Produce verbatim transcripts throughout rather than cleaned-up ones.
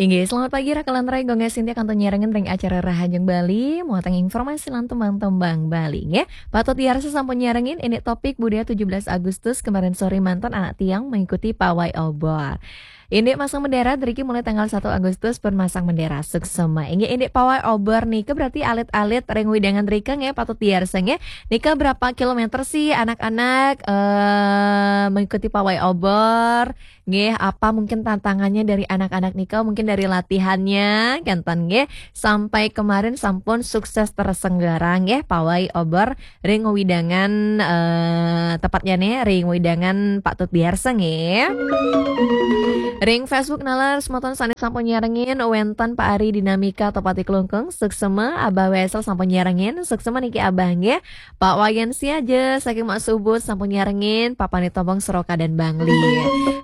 Inggih, selamat pagi Raka lan Rai, Gung Sintia kantun nyarengin ring acara Rahajeng Bali, muatan informasi lan tembang-tembang Bali, nggih. Patut diarsa sampun nyarengin, ini topik budaya tujuh belas Agustus kemarin sore mantan anak tiang mengikuti pawai obor. Indik masang bendera driki mulai tanggal satu Agustus pun masang bendera suksema. Inggih, indik pawai obor nika berarti alit-alit ring wewidangan drika nggih patut diarsa nggih. Nika berapa kilometer sih anak-anak eh mengikuti pawai obor? Nggih, apa mungkin tantangannya dari anak-anak nika, mungkin dari latihannya, kenten nggih. Sampai kemarin sampun sukses tersenggara nggih pawai obor ring wewidangan eh tepatnya nih ring wewidangan patut diarsa nggih. Ring Facebook nalar semeton sané sampun nyarengin, wénten Pak Ari Dinamika Tepati Klungkung, suksema. Abah Wesel sampun nyarengin, suksema niki Abah nggih. Pak Wayan Siaja saking Mak Subut sampun nyarengin, Pak Panit Tombong Seroka dan Bangli.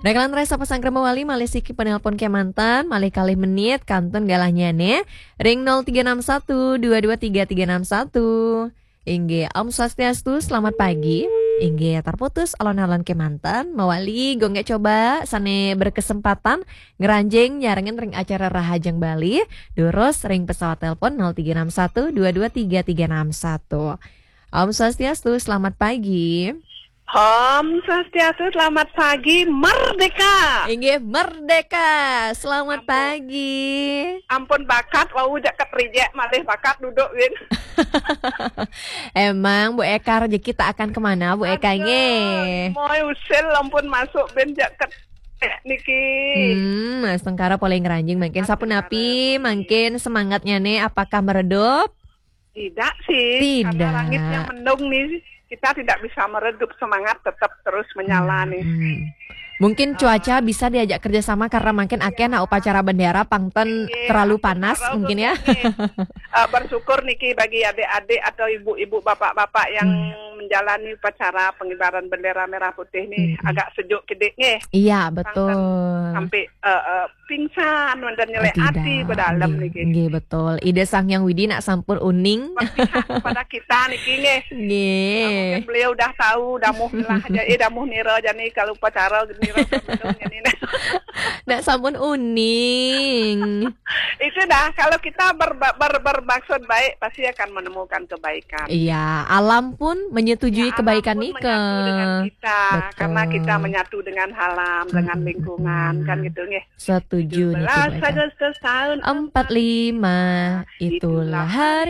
Raka lan Rai sapa sangkrama wali malih siki penelpon kemanten, malih kalih menit kantun galahnya nih. Ring nol tiga enam satu dua dua tiga tiga enam satu. Inggih, Om Swastiastu, selamat pagi. Inggih, terputus alon-alon kemanten, mawali gung coba sané berkesempatan ngranjing nyarengin ring acara Rahajeng Bali, durus ring pesawat telepon nol tiga enam satu dua dua tiga tiga enam satu. Om Swastiastu, selamat pagi. Om Swastiastu, selamat pagi, merdeka. Inggih, merdeka. Selamat pagi. Ampun bakat, wau jak rijek malih bakat duduk win. Emang Bu Eka, rezeki tak akan kemana, Bu Eka, nggih. Moy usil ampun masuk bin jak niki. Hmm, Mas Tengkara polih ngranjing mangkin sapunapi, mangkin semangatnya nih apakah meredup? Tidak sih, karena langitnya mendung nih, kita tidak bisa meredup, semangat tetap terus menyala nih. Hmm. Mungkin cuaca bisa diajak kerjasama karena mungkin akeh na upacara bendera pangten terlalu panas mungkin ya. Eh, bersyukur niki bagi adik-adik atau ibu-ibu, bapak-bapak yang menjalani upacara pengibaran bendera merah putih nih agak sejuk kidik nih. Iya, betul. Sampai eh, eh, pingsan, wénten nyelek ati bedalem niki. Nggih, betul. Ida Sang Hyang Widi nak sampun uning. Berpihak kepada kita niki nggih. Nggih. Mungkin beliau udah tahu, damuh milah aja, eh damuh nira jani kalau upacara nira. Nak sampun uning. Itu dah, kalau kita ber, ber, bermaksud baik pasti akan menemukan kebaikan. Iya, alam pun menyetujui kebaikan nika. Alam pun menyatu dengan kita karena kita menyatu dengan alam, dengan lingkungan, kan gitu nggih. Setuju niki, Agustus tahun empat lima, itulah hari